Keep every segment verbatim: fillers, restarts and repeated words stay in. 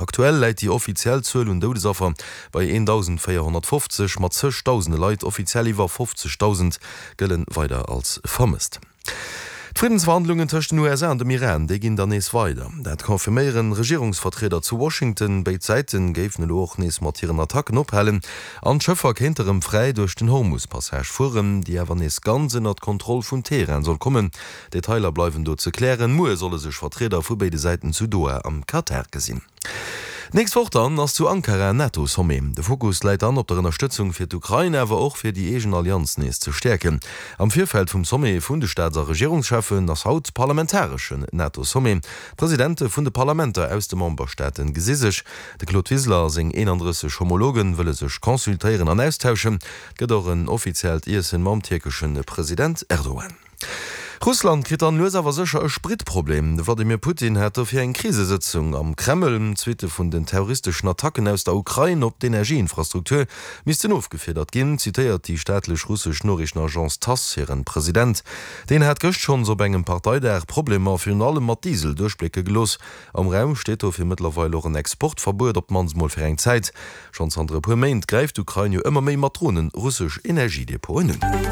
Aktuell läit déi offiziell Zuel un Doudesaffer bei eendausendvéierhonnertfofzeg, mat zeg Dausende Leit, offiziell iwwer fofzegdausend, gëlle weider als vermësst. D'Friddensverhandlungen tëscht den U S A an dem Iran, déi ginn dann nees weider. Dat confirméieren Regierungsvertrieder zu Washington. Béid Säite géifen elo och nees mat hiren Attacken ophalen an d'Schëffer kéinte rëm fräi duerch den Hormus-Passage fueren, déi awer nees ganz ënnert d'Kontroll vun Teheran soll kommen. Detailer bleiwen do ze klären. Muer solle sech Vertrieder vu béide Säiten zu Doha am Katar gesinn. D'nächst Woch dann ass zu Ankara en NATO-Sommet. De Fokus läit dann op der Ënnerstëtzung fir d'Ukrain, awer och fir déi eegen Allianz nees ze stäerken. Am Virfeld vum Sommet vun de Staats a Regierungscheffen ass haut parlamentareschen NATO-Sommet. D'Presidente vun de Parlamenter aus de Memberstaate gesi sech. De Claude Wiseler a seng eenandrësseg Homologe wëlle sech consultéieren an austauschen. Et gëtt och en offiziellt Iessen mam tierkesche President Erdogan. Russland kritt dann lues awer sécher e Spritproblem. De Wladimir Putin hat dofir eng Krisesëtzung am Kreml. D'Suitte vun den terroristeschen Attacken aus der Ukrain op d'Energieinfrastruktur missten ofgefiedert ginn, zitéiert déi staatlech russesch Noriichtenagence Tass hiren President. Deen hat gëscht schonns op engem Parteidag Problemer virun allem mat Diesel duerchblécke gelooss. Am Raum steet dofir mëttlerweil och en Exportverbuet, op d'mannst mol fir eng Zäit. Schonn zanter e puer Méint gräift d'Ukrain jo ëmmer méi mat Dronen russesch Energiedepoten un.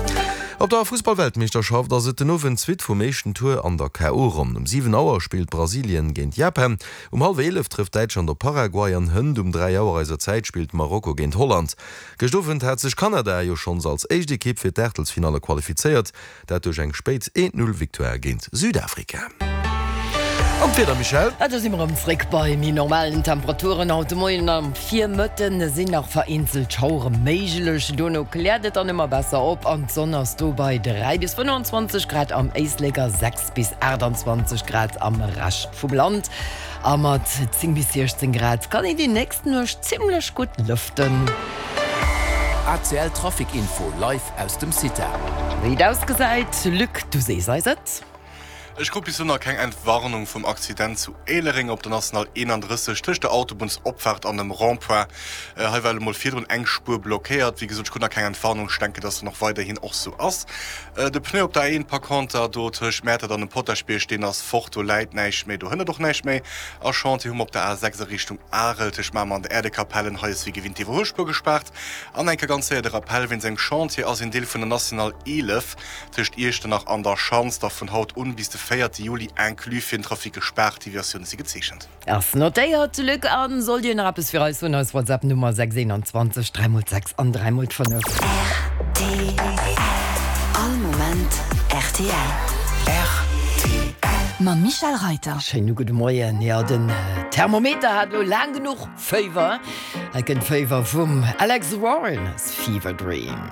Op der Fussballweltmeeschterschaft ass et den Owend d'Suite vum éischten Tour an der K O Ronn. Um siwen Auer spillt Brasilien géint Japan, um hallwer eelef trëfft Däitschland op Paraguay an hënt um dräi Auer eiser Zäit spillt Marokko géint Holland. Gëscht Owend hat sech Kanada jo schonns als éischt Ekipp fir d'Aachtelsfinalle qualifizéiert, dat duerch eng spéit eent Null Victoire géint Südafrika. An d'Wieder, Michèle? A do si mer erëm zréck bei méi normalen Temperaturen. Haut de Moien am Virmëtten sinn nach vereenzelt Schauere méiglech, dono kläert et dann ëmmer besser op an d'Sonn ass do bei dräi bis fënnefenzwanzeg Grad am Éislek a sechs bis aachtanzwanzeg Grad am Rescht vum Land. A mat zéng bis siechzéng Grad kann een déi nächst Nuecht zimmlech gutt lëften. A C L Trafic Info live aus dem CITA. Wéi et ausgesäit, Luc, du sees eis et. Ech krut bis elo nach keng Entwarnung vum Accident zu Éilereng op der National eenandrësseg tëscht der Autobunnsopfaart an dem Rond-point. Hei war elo mol virdrun eng Spuer blockéiert. Wéi gesot, ech krut nach keng Entwarnung. Ech denken, dass dat och weiderhin och sou ass. De Pneu op der A eent par conter do tëscht Mäertert an dem Potaschbierg, deen ass fort. Do läit näischt méi, do hënnert och näischt méi. A Chantier hu mer op der A sechs a Richtung Arel tëscht Mamer an der Äerdekapellen. Hei ass wéi gewinnt d'Iwwerhuelspuer gespaart. An eng Kéier ganz séier de Rappell, Wéinst engem Chantier ass een Deel vun der National eelef tëscht Iechternach an der Schanz da vun haut un bis de véierte Juli inclus fir den Trafic gespaart. Deviatioune si gezeechent. Ass notéiert, Luc. A sollt Dir nach eppes fir eis hunn, eis WhatsApp Nummer sechs eenanzwanzeg dräi mol sechs an dräi mol fënnef. R T L. All Moment R T L. R T L. Mam Michèle Reiter. Schéine gudde Moien. Jo, den Thermometer hat elo laang genuch Féiwer. Hei kënnt Féiwer vum Alex Warren, Fever Dream.